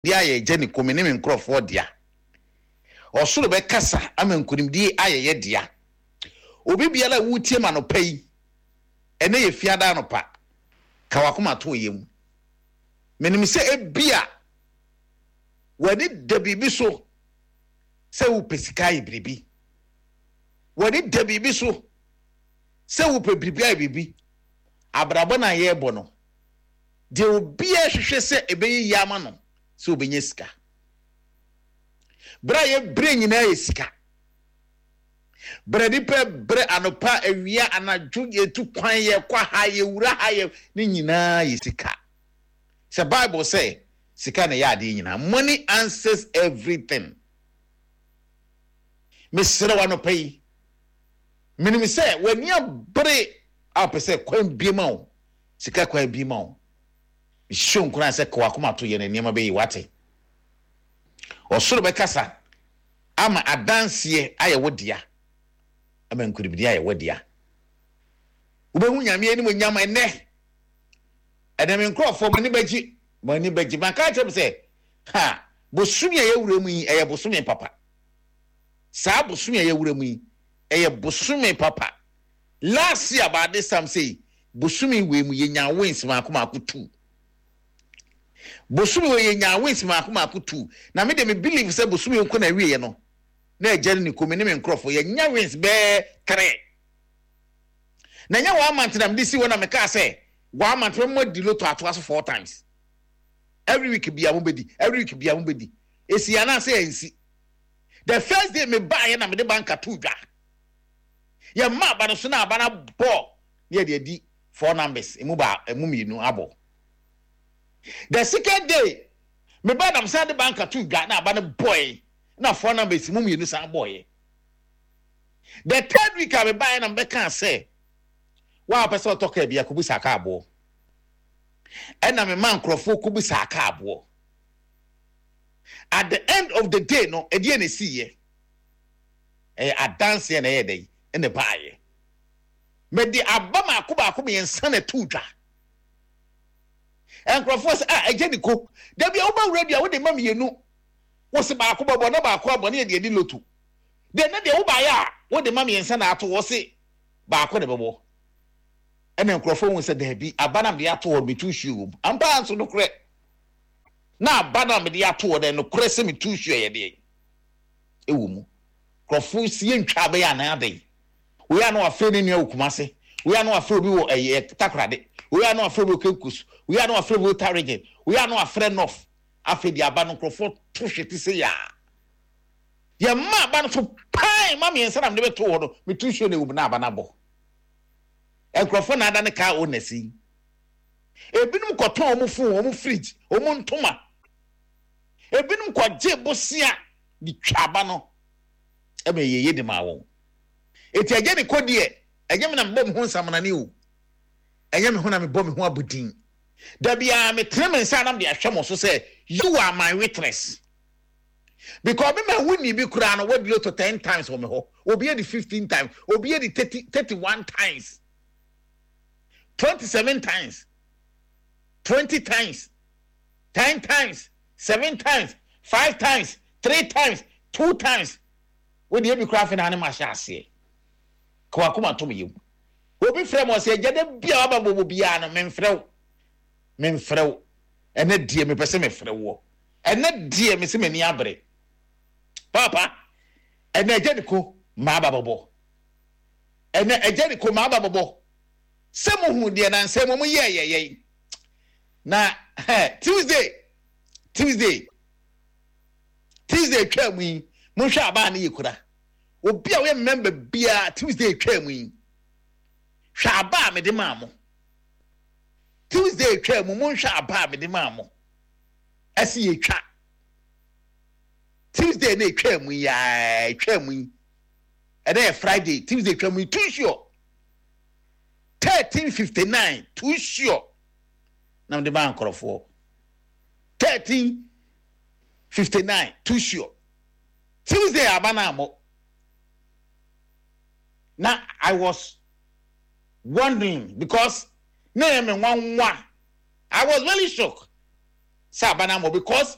Nkonimdie ayɛ Agya ne kome ne me nkurɔfoɔ dea. Ɔsoro bɛkasa ama nkonimdie ayɛ yɛ dea. Obi biara a woretie me anɔpa yi, ɛnnɛ yɛ Fiada anɔpa, ka w'akoma to wo yam. Menim sɛ ebia w'ani da biribi so sɛ wopɛ sika ayɛ biribi. W'ani da biribi so sɛ wopɛ biribi ayɛ biribi. Abrabɔ no a yɛrebɔ no, Deɛ obiara hwehwɛ sɛ ɛbɛyɛ yie ama no sɛ ɔbɛnya sika. Berɛ a yɛbrɛ nyinaa yɛ sika. Berɛ nipa brɛ anɔpa, awia, anadwo, yɛtu kwan, yɛkɔ ha, yɛwura ha, yɛ ne nyinaa yɛ sika. Sɛ Bible sɛ sika na ɛyɛ adeɛ nyinaa. Money answers everything. Mesrɛ wo anɔpa yi, menim sɛ w'ani abere a wopɛ sɛ kwan bie ma wo. Sika kwan bi ma wo. Mehyɛ wo nkuran sɛ ka w'akoma to yɛ na nneɛma bɛyɛ wate. Ɔsoro bɛkasa ama adanseɛ ayɛ wo dea, ama nkunimdie ayɛ wo dea. Wobɛhu Nyame animuonyam ɛnnɛ. Ɛnɛ me nkurɔfoɔ mo ani bɛgye, mo ani bɛgye. Maka akyerɛ mo sɛ, ha, bosome a yɛwura mu yi, ɛyɛ bosome papa. Saa bosome a yɛwura mu yi, ɛyɛ bosome papa. Last year about this time sei, bosome wei mu yɛnyaa wins maako maako two. Bosome wei yɛnyaa wins maako maako two. Na me deɛ me believe sɛ bosome nko na awieɛ no, na agya ne ne kɔmi ne me nkorɔfoɔ yɛnya wins bɛɛ three. Na ɛnyɛ one month na mede si hɔ na mekaa sɛ one month mɛma di lotto atoa so four times. Every week bia mobɛdi, every week bia mobɛdi. Ɛsi anaasɛ ɛnsi. The first day mebaeɛ na mede banka too dwa. Yɛma aba no so na aba no abɔ na yɛde adi four numbers emu baa emu mmienu abɔ. The second day me ba nam san de banka to dwa na aba no bɔe na four numbers mu mmienu san bɔeɛ. The third week a mebaeɛ na mebɛkaa sɛ wa a wopɛ sɛ ɔtɔ kaa bi akɔbu kaa boɔ. Ɛna mema nkurɔfoɔ kɔbu saa kaa boɔ. At the end of the day no, ɛdeɛ na ɛsiiɛ. Ɛyɛ adanseɛ na ɛyɛ dɛn na ɛbaeɛ. Mede aba mako baako mmiɛnsa na ɛtoo dwa. Nkurɔfoɔ sɛ, ah, agya Niko, da bi a woba wura bi a wode ma mmienu, wo se baako bɛbɔ na baako abɔ ne yɛde adi loto. Deɛ ne deɛ wobaeɛ a wode ma mmiɛnsa na ato hɔ se baako na ɛbɛbɔ. Ɛna nkurɔfoɔ hu sɛ daabi, aba na mede ato hɔ no metu nsuo wɔ mu. Ampa ara nso nokorɛ, na aba na mede ato hɔ no nokorɛ sɛ metu nsuo ɛyɛ deɛn ɛwɔ mu. Nkurɔfo si yɛntwa abɛyɛ anaa adɛn? Wei a na wafrɛ ne nua wɔ Kumase, wei a na wafrɛ obi wɔ ɛyɛ Takoradi, wei a na wafrɛ obi wɔ Cape Coast, wei a na wafrɛ obi wɔ Volta Region, wei a na wafrɛ North. Afei deɛ aba no nkurɔfoɔ to hwete sɛ yaa. Yɛma aba no so pan ma mmiɛnsa na mede bɛto hɔ no, meto nsuo na ɛwɔ mu na aba no abɔ. Nkurɔfoɔ na ada ne car owners yi. Ebinom kɔtɔn wɔn phone, wɔn fridge, wɔn ntoma. Ebinom kɔgye bosea de twa aba no ma ɛyɛ yie de maa wɔn. Eti agya ne kɔ deɛ, ɛnyɛ me na mebɔ me ho nsamanane o, ɛnyɛ me ho na mebɔ me ho abodin. Da biara metene me nsa na mede ahwɛ mo so sɛ you are my witness. Because me ma wonni bi koraa no, wadi lotto ten times wɔ me hɔ, obi adi 15 times, obi adi 30, 31 times, 27 times, 20 times, 10 times. Seven times, five times, three times, two times. Wo deɛ ebi koraa afei na ne ma hyɛ aseɛ. Ka w'akoma to me yam. Obi frɛ me ɔsɛ agya da bi a waba bɔbɔ biara no memfrɛ wo. Memfrɛ wo. Ɛnɛ deɛ mepɛ sɛ mefrɛ woɔ. Ɛnɛ deɛ mese m'ani abere. Papa, ɛnɛ agya ne ko maaba bɔbɔ. Ɛnɛ agya ne ko maaba bɔbɔ. Sɛ muhu deɛ nansɛ mo mo yɛɛyɛ yɛn. Na Tuesday, Tuesday, Tuesday twaa mu yi, monhwɛ abaa no yɛ kura. Obi a ɔyɛ member biara Tuesday twaa mu yi, hwɛ aba a mede maa mo. Tuesday twaa mu, monhwɛ aba a mede maa mo. Ɛsi yɛ twa. Tuesday na etwaa mu yi, etwaa mu yi. Ɛnɛ yɛ Friday, Tuesday twaa mu yi, too sure. 1359, too sure. Na mede maa nkurɔfoɔ. 1359 too sure. Tuesday aba no ammɔ. Na I was wondering because na ɛyɛ me nwanwa. I was really shocked sɛ aba no ammɔ because.